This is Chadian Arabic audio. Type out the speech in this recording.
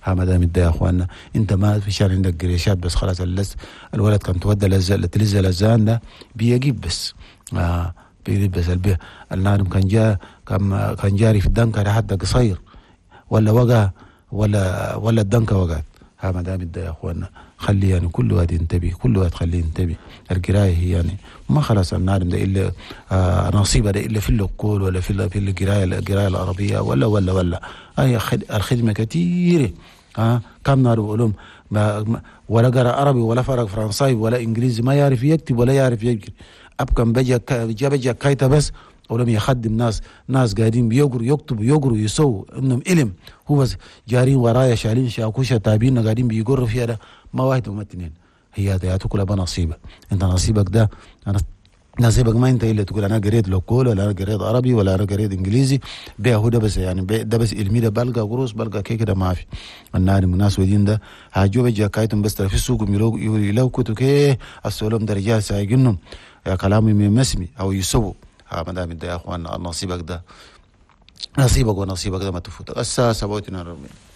ها ما دام يا اخواننا انت ما في شان عندك قريشات بس خلاص اللز الولد كان تودى تلز لزان ده بيجيب بس بيجيب بس البيه النار كان جا كان جاري في الدنكة حتى قصير ولا وقع ولا الدنكة وقعت. ها ما دام يا اخواننا خلي يعني كل واحد ينتبه، كل واحد خليه ينتبه. القراية هي يعني ما خلاص النار ده الا نصيبه ده الا في اللقول ولا في القراية العربية ولا ولا ولا هي الخدمة كثيرة. كم نار علوم ولا قرا عربي ولا فرق فرنساوي ولا انجليزي، ما يعرف يكتب ولا يعرف يقرا. ابكم بجا كايتا بس ولم يخدم ناس قاعدين بيقروا يكتبوا يقروا يسووا انهم علم، هو بس جارين ورايا شالين شاكوشة تابين قاعدين بيقروا فيها ده ما واحد وما اثنين. هي ده كلها بنصيبه، انت نصيبك ده نصيبك ما انت الا تقول انا قريت لوكول ولا انا قريت عربي ولا انا قريت انجليزي بيه هو ده بس يعني ده بس علمي ده بلقى قروس بلقى كيك ده ما في. النار الناس ودين ده هاجو بجا كايتم بس في السوق يلو كتو كي السولم درجات سايقنهم يا كلامي مسمي او يسووا. ها ما دام يا اخوان نصيبك ده نصيبك ونصيبك ده ما تفوتك. الساعة 7:42.